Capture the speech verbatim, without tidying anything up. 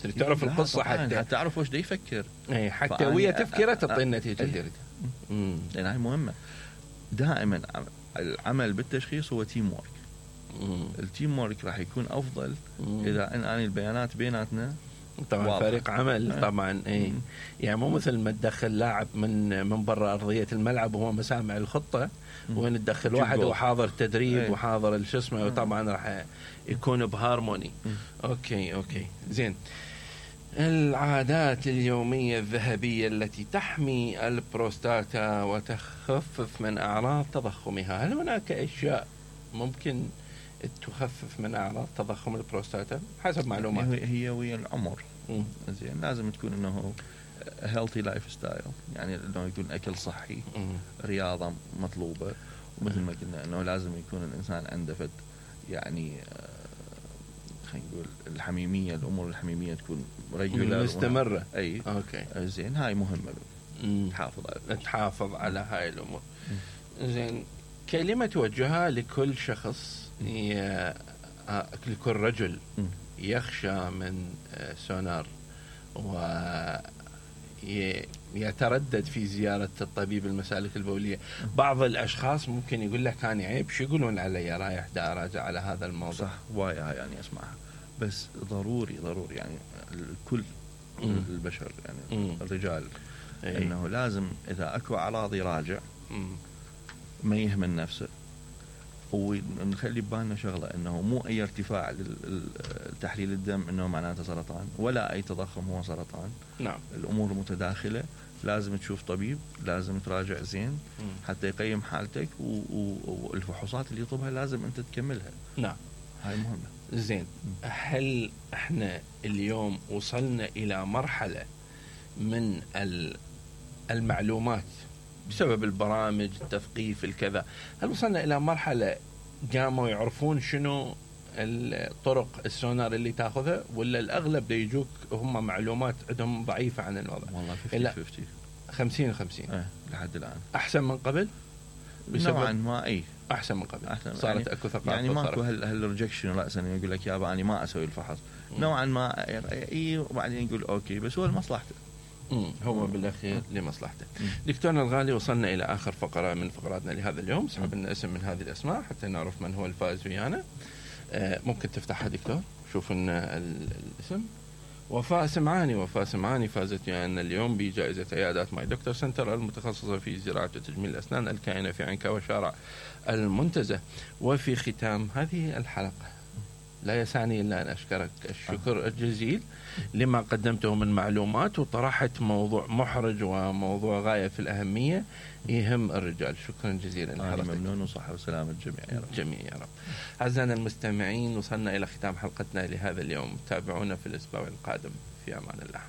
تريد تعرف القصة حتى حتى تعرف وش دا يفكر، اي حتى ويا تفكيره تعطي النتيجة اللي تريدها. لأن هاي مهمة. دائما العمل بالتشخيص هو تيم وورك. التيم وورك راح يكون أفضل مم. إذا أن أنا البيانات بيناتنا طبعا واضح. فريق عمل طبعا اي يعني مو مثل ما تدخل لاعب من من برا ارضيه الملعب وهو مسامع الخطه، وين تدخل واحد وحاضر تدريب ايه. وحاضر شو اسمه، وطبعا راح يكون بهارموني. اوكي اوكي زين. العادات اليوميه الذهبيه التي تحمي البروستاتا وتخفف من اعراض تضخمها، هل هناك اشياء ممكن تخفف من اعراض تضخم البروستاتا حسب معلومات؟ هي ويا العمر. زين لازم تكون انه هيلثي لايف ستايل، يعني انه يكون اكل صحي، مم. رياضه مطلوبه، ومثل ما قلنا انه لازم يكون الانسان عنده فد يعني خلينا نقول الحميميه، الامور الحميميه تكون ريجولار مستمره. اي اوكي زين هاي مهمه، تحافظ على تحافظ على هاي الامور. زين كلمه توجهها لكل شخص ي... لكل رجل يخشى من سونار ويتردد في زيارة الطبيب المسالك البولية. بعض الأشخاص ممكن يقول لك أنا عيب، شو يقولون علي رايح دا أراجع على هذا الموضوع؟ صح وايا يعني أسمعها، بس ضروري ضروري يعني الكل م. البشر يعني م. الرجال أي. إنه لازم إذا أكو أعراض يراجع، ما يهمل نفسه، ونخلي ببالنا شغلة انه مو اي ارتفاع للتحليل الدم انه معناته سرطان، ولا اي تضخم هو سرطان. نعم الامور متداخلة، لازم تشوف طبيب، لازم تراجع زين م. حتى يقيم حالتك، والفحوصات اللي يطلبها لازم انت تكملها. نعم هاي مهمة. زين هل احنا اليوم وصلنا الى مرحلة من المعلومات بسبب البرامج التثقيف الكذا، هل وصلنا إلى مرحلة قاموا يعرفون شنو الطرق السونار اللي تاخذها، ولا الأغلب دا يجوك هم معلومات عندهم ضعيفة عن الوضع؟ والله خمسين خمسين خمسين اه لحد الآن. أحسن من قبل نوعا ما. أي أحسن من قبل. أحسن صارت يعني أكو ثقافة، يعني ماكو هال هالريجكشن رأسا يقول لك يابا أنا ما أسوي الفحص. م. نوعا ما إي، وبعدين يقول أوكي بس هو لمصلحته. هو بالأخير لمصلحته. دكتورنا الغالي وصلنا إلى آخر فقرة من فقراتنا لهذا اليوم. سحب لنا اسم من هذه الأسماء حتى نعرف من هو الفائز ويانا. آه ممكن تفتحها دكتور، شوف لنا الاسم. وفاء سمعاني. وفاء سمعاني فازت ويانا اليوم بجائزة عيادات ماي دكتور سنتر المتخصصة في زراعة وتجميل الأسنان الكائنة في عنكا وشارع المنتزه. وفي ختام هذه الحلقة لا يسعني إلا أن أشكرك الشكر الجزيل لما قدمته من معلومات، وطرحت موضوع محرج وموضوع غاية في الأهمية يهم الرجال. شكرا جزيلا لحضرتك. ممنون وصحة وسلامة الجميع يا رب. جميع يا رب. أعزائنا المستمعين وصلنا إلى ختام حلقتنا لهذا اليوم. تابعونا في الأسبوع القادم. في أمان الله.